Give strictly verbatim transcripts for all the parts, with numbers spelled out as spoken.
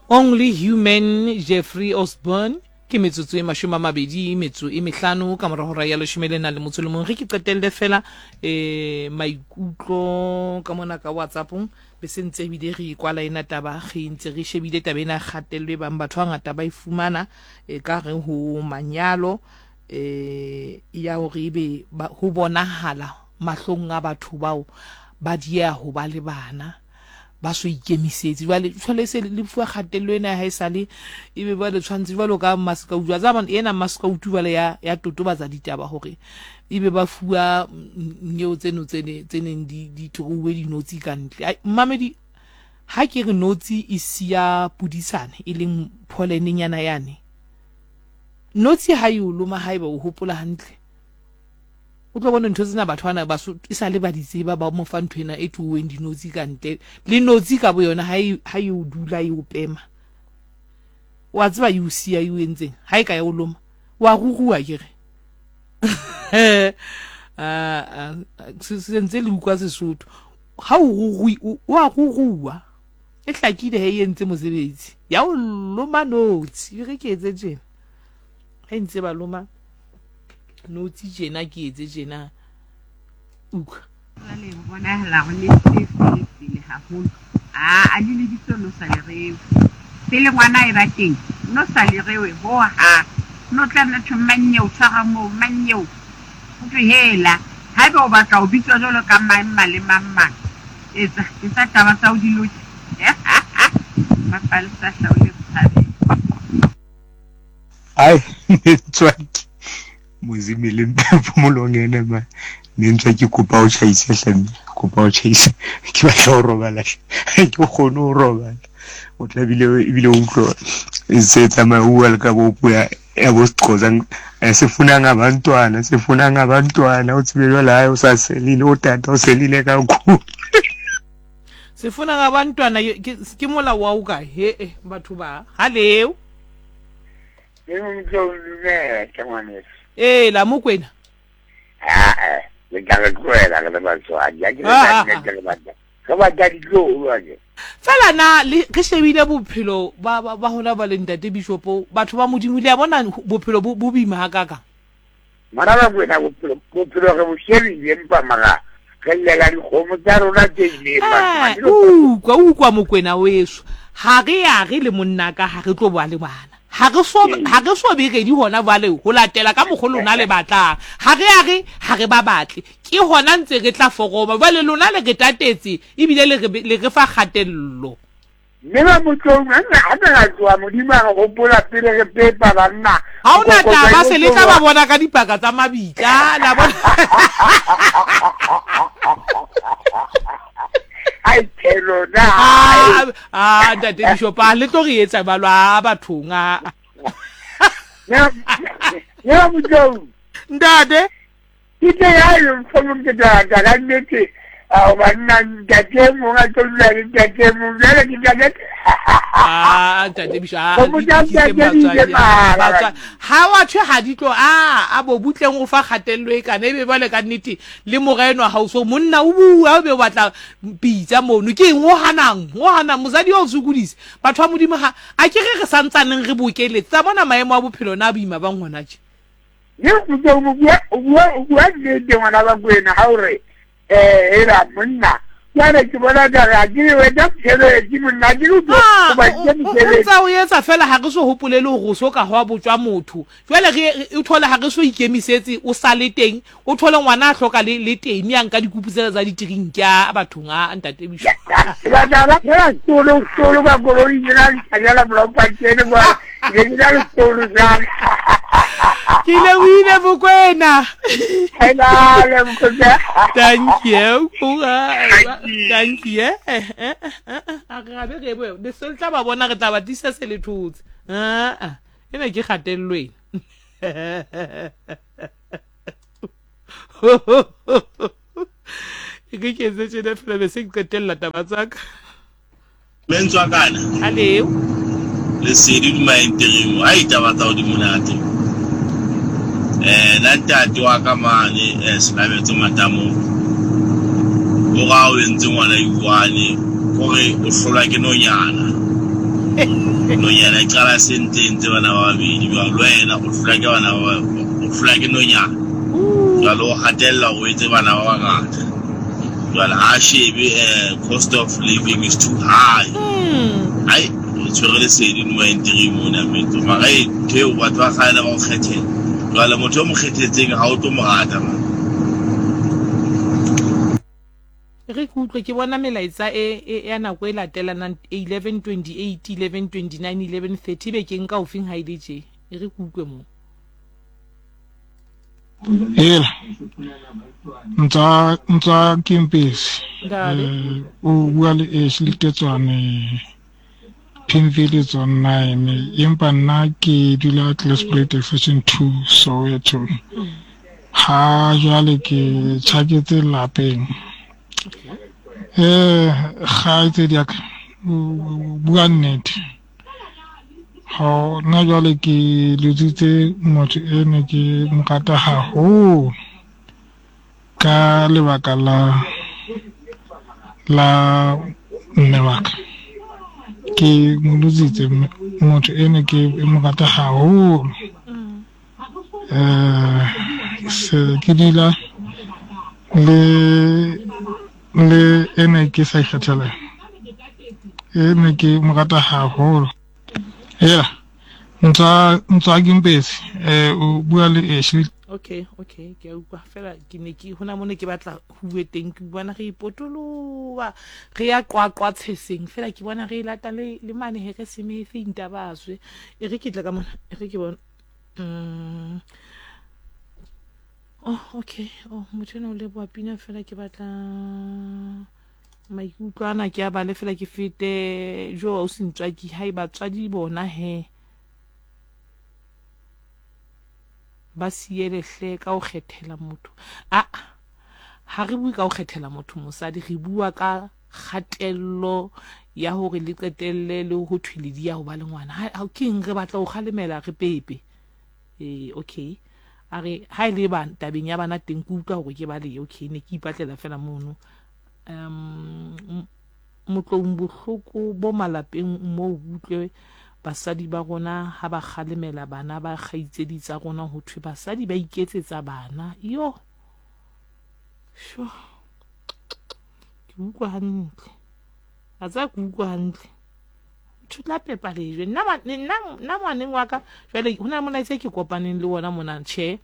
Only Human, Jeffrey Osborne. Ke metsotso e mashome a mabedi metso e mehlano ka mora hora ya leshome le nang le motso le mong. Ge ke qetelle fela eh maikutlo ka mona ka WhatsAppong, be se ntse ebile re kwala ena taba, re ntse re shebile taba ena kgatello e bang batho ba ngata ba e fumana e ka re ho manyalo eh ya hore ebe ho bonahala mahlong a batho bao ba dieha ho ba le bana, ba so ikemisetse. Jwale jwale se le fuwa kgatello ena ya haesale, ebe ba le tshwantse jwalo ka maskautu. Wa tseba ena maskautu jwale ya ya totobatsa ditaba hore ebe ba fuwa neo tseno tse ne tse neng di di throuwe dinotsi ka ntle. Mmamedi, ha ke re notsi e siya pudisane e leng pollen-nyana yane, notsi ha e o loma haeba o hopola hantle, o tlo bona ntho tsena batho bana ba so e sa le ba di tseba, ba mo fa ntho ena e thuweng dinotsi ka ntle. Le notsi ka boyona ha e ha e o dula e o pema, wa tseba e o siya e o entseng ha e ka ya o loma, wa ruruwa ke re. Ah, se ntse le utlwa Sesotho, ha o rurui o a ruruwa, e hlakile he e entse mosebetsi ya o loma notsi. E re ke etse tjena, ha e ntse ba loma notsi tjena, ke etse tjena, utlwa. Jwale ho bonahala hore le se pele pele haholo. A a le lebitso no sa le rewe. Pele ngwana e ba teng, no sa le rewe ho ha. No tla nna thwe manyeo tshwara moo manyeo. Ho thwe hela, haeba o batla ho bitswa jwalo ka mang mang le mang mang. Etsa, etsa taba tsa ho di loke. Mapalesa hlaole bothabeng. Ai, ntswaki. Mozimi le phomolong ena ma. Ne ntse ke kopa o tjhaise hle mme, kopa o tjhaise. Ke batla ho robala hle. Ha ke kgone ho robala. O tla bile ebile o utlwa se tsamaya o bua le ka bo puo ya ya bo Sexhosa, sifuna ngabantwana, sifuna ngabantwana. O tsebe jwale hae o sa selile, o tata o selile kakhulu. Sifuna ngabantwana ke ke molao wa o kae? He eh batho ba haleo. Ke motho o dumela ke ngwaneso. Ee, la Mokwena. Ah, le tla re tlohela re le batswadi. Ha ke re ka nnete re batla. Re batla ditloholo ake. Fela na le re shebile bophelo ba ba ba hona ba le ntate Bishopo, batho ba Modimo le a bona bophelo bo bo boima hakakang. Mara ba Mokwena bophelo bophelo re bo shebile empa mara re llela dikgomo tsa rona tse ileng batho. Eh, utlwa utlwa Mokwena weso. Ha re ya re le monna ka ha re tlo ba le bana. Ha re so ha re so be ready hona jwale ho latela ka mokgo lona le batlang. Ha re ya re ha re ba batle. Ke hona ntse re tla foroma. Jwale lona le re tatetse ebile le re le re fa kgatello. Mme ba Motlong ha re ra tloha Modimo a re hopola pele re pepa banna. Ha ona taba se le tla ba bona ka dipaka tsa mabitla la bona. Ai phelo na. Ah, ah ntate Bishop, a le tlo re etsa jwalo a bathong a. Ne ne Motlong. Ntate. Ke teng ha e mfomo ke tla ka nnete. A banna ntate mong a tlo dula le ntate mong jwale ke tla Ah ntate Bishop, ah ha wa thwe ha di tlo a a bo butleng o fa kgatello e kana ebe jwale ka nnete le moreno ha o so monna o bua o be o batla pitsa mono ke eng o hanang o hanang mosadi o sokodise batho ba Modimo ha a ke re re santsaneng re bokeletse tsa bona maemo a bophelo na boima ba ngwana tje. Ne o bua o bua o bua nnete ngwana ba Kwena ha o re eh era monna jwale ke bona ka re ke wena mosebetsi monna ke o ba ke mosebetsi o tsa o etsa fela ha re so hopolele hore o so ka hwa botswa motho jwale re o thole ha re so ikemisetse o sale teng o thole ngwana a hloka le le teng ya nka dikupu tsena tsa ditrinki a bathong a ntate Bisho ba ba ba ba tolo tolo ba koloi jena le blopa tsene ba ke dira le tolo jang ke le wile Mokwena. Hello Mokwena. Thank you. Thank you. A re be re bo le se tla ba bona re tla ba tisa se le thotse. Ah ah. Ena ke kgatello ena. Ke ke etse tjena fela be se ke qetella taba tsa ka. Mentswa kana. Aleo. Lesedi duma interim. Ai taba tsa di monate. Eh na ntate wa ka mane eh Selabetso Matamo. O ra o entse ngwana iwane hore o hlolwa ke nonyana. Nonyana e qala se ntse entse bana ba babedi jwale le wena o hlolwa ke bana ba o hlolwa ke nonyana. Jwale o hatella o etse bana ba bangata. Jwale ha shebe eh, cost of living is too high. Ai o tshwere lesedi no entry mona metso. Mara e ntho eo batho ba kgale ba o kgethela. Jwale motho o mo kgethetseng ha o tlo mo rata man. Re ke utlwe ke bona melaetsa e e ya nako e latelanang eleven twenty-eight, eleven twenty-nine, eleven thirty be ke nka ofeng ha ile tje. E re ke utlwe mo. Hela ntsa ntsa Kimpisi Ntate. O bua le Ashley Tetswane Pimville zone nine empa nna ke dula Klipspruit Extension two Soweto. Ha jwale ke tjhaketse lapeng. Eh kgaitsedi ya ka o bua nnete. Ha nna jwale ke lositse motho e ne ke mo rata haholo ka lebaka la la mme wa ka. Ke mo lositse motho e ne ke mo rata haholo. Eh se ke dula le le ene ke sa ikgethela. E ne ke mo rata haholo. Hela ntsa ntsa Kimpisi eh o bua le Ashley. Okay, okay, ke a utlwa fela ke ne ke hona mone ke batla ho bue teng ke bona re ipotoloha re ya qwaqwa tsheseng fela ke bona re lata le le mane he re semefe intabazwe e re ke tla ka mona e re ke bona mm oh okay oh motho ena o leboha pina fela ke batla maikutlo ana ke a bale fela ke fete jo o sentswaki ha e batswadi bona he ba siele hle ka ho kgethela motho. A ha re bue ka ho kgethela motho mosadi, re bua ka kgatello ya hore le qetelle le ho thwe le di ya ho ba le ngwana. Ha ke eng re batla ho kgalemela re pepe. Eh okay. A re ha ile ba tabeng ya bana teng ke utlwa hore ke ba le okay ne ke ipatlela fela mono. Um motlong bohloko bo malapeng mo utlwe basadi ba rona ha ba kgalemela bana ba kgaitsedi tsa rona ho thwe basadi ba iketsetsa bana. Yo sho ke utlwa hantle a tsa ke utlwa hantle motho tla pepa lejwe nna nna nna ngwaneng wa ka jwale ho na molaetsa ke kopaneng le wona mona tjhe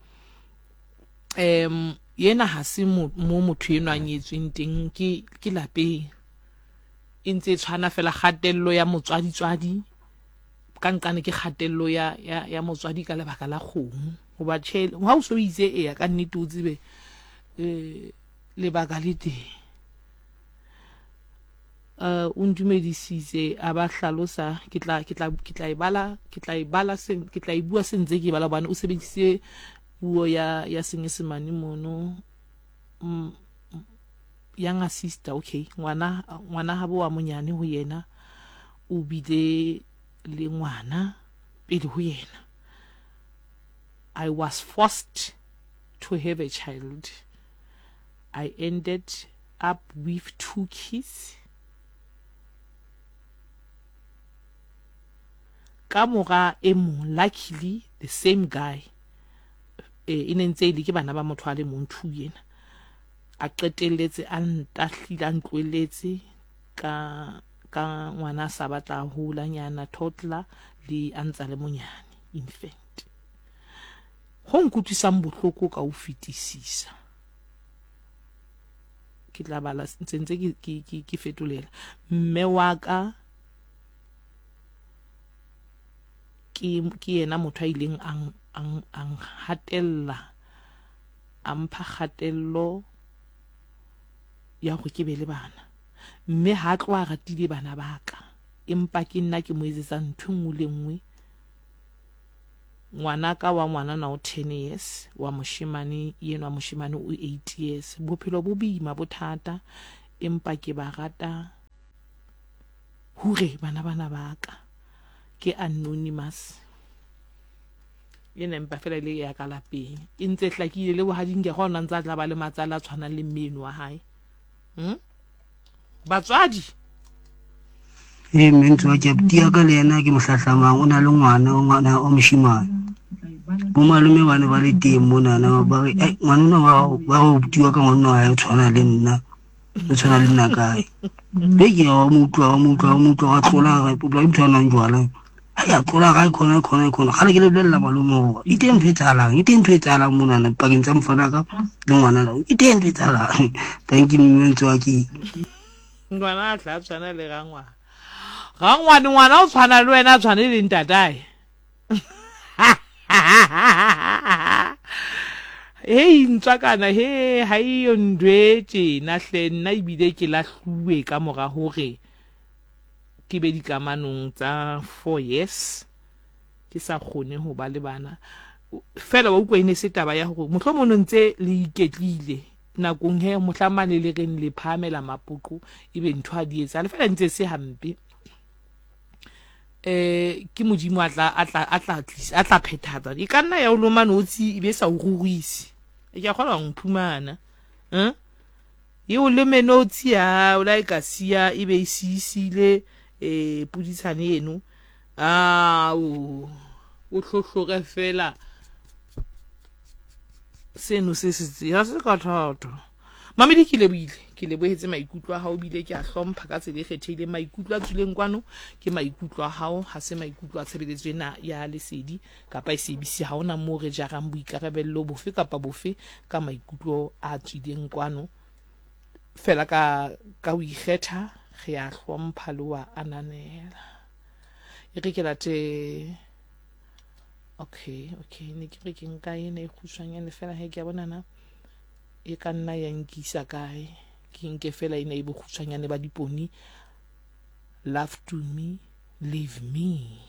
em yena ha se mo motho enwa a nyetsweng teng ke ke lapeng e ntse e tshwana fela kgatello ya motswadi tswadi ka nqane ke kgatello ya ya ya motswadi ka lebaka la kgomo hoba tjhe ha o so itse eya ka nnete o tsebe eh lebaka le teng. Uh o ntumedisitse a ba hlalosa ke tla ke tla ke tla e bala ke tla e bala se ke tla e bua sentse ke bala bana o sebedisitse puo ya ya Senyesemane mono younger sister okay ngwana ngwana habo wa monyane ho yena o bile le ngwana pele ho yena. I was forced to have a child. I ended up with two kids. Ka mora e mong luckily the same guy e e ne ntse ile ke bana ba motho a le mong two yena a qetelletse a ntahlile a ntloeletse ka ka ngwana sa batla hola nyana toddler le a ntsa le monyane infant. Ho nkutlwisang bohloko ka ho fetisisa ke tla bala ntse ntse ke ke ke fetolela mme wa ka ke ke yena motho a ileng ang ang ang hatella a mpha kgatello ya hore ke be le bana mme ha tloha ratile bana ba ka empa ke nna ke mo etsetsa ntho nngwe le nngwe. Ngwana ka wa ngwana na o ten years wa moshemane yena wa moshemane o eight years. Bophelo bo boima bothata empa ke ba rata hure bana bana ba ka. Ke anonymous yena empa fela ile ya ka lapeng e ntse hlakile le bohading ke gona ntse a tla ba le matsala a tshwanang le mmeno wa hae. Hm batswadi Ee, mme Ntswaki, abuti ya ka le yena ke mo hlahlamang, o na le ngwana, ngwana o moshemane. Bo malome ba ne ba le teng monana, ba re, "Ai, ngwana ona wa hao," ba re abuti wa ka ngwana wa hae o tshwana le nna, o tshwana le nna kae. Be ke wa mo utlwa, wa mo utlwa, wa mo utlwa, wa tlola, re o motho a nwang jwala. Ha ya tlola ga e khona, khona, khona. Kgale ke le bolella malome hore e teng ntho e etsahalang, e teng ntho e etsahalang monana pakeng tsa mfana ka le ngwana la. E teng ntho e etsahalang. Thank you, mme Ntswaki. Ngwana a tla tshwana le rangwana. Rangwane ngwana o tshwana le wena, a tshwane le ntatae. Hei ntswakana, he ha eyo ntwe tjena hle, nna ebile ke lahluwe ka mora hore ke be dikamanong tsa four years ke sa kgone ho ba le bana. Fela wa utlwa e ne se taba ya hore mohlomong no ntse le iketlile nakong he mohla mane le reng le phahamela mapoqo ebe ntho ha di etsahale, fela ntse se hampe. Eh ke Modimo a tla a tla a tla tlisa a tla phethatsa. E ka nna ya o loma notshi e be sa o ruruise. E ke a kgona ho mphumana. Eh? E o lome notshi ya o la e ka siya e be e siisile eh puditshane eno. Ah o o hlohlore fela seno se se tse ha se ka thata. Mamedi ke lebohile, ke lebohetse maikutlo a hao, bile ke a hlompha ka tsela e kgethehileng. Maikutlo a tswileng kwano ke maikutlo a hao, ha se maikutlo a tshebeletso ena ya Lesedi kapa S A B C. Ha hona moo re jarang boikarabello bofe kapa bofe ka maikutlo a tswileng kwano. Fela ka, ka ho ikgetha re a hlompha le wa ananela. E re ke late. Okay, okay, ne ke re ke nka ena e kgutshwanyane fela he ke a bona na e ka nna ya nkisa kae. Ke nke fela ena e bokgutshwanyane ba diponi. Love to me, leave me.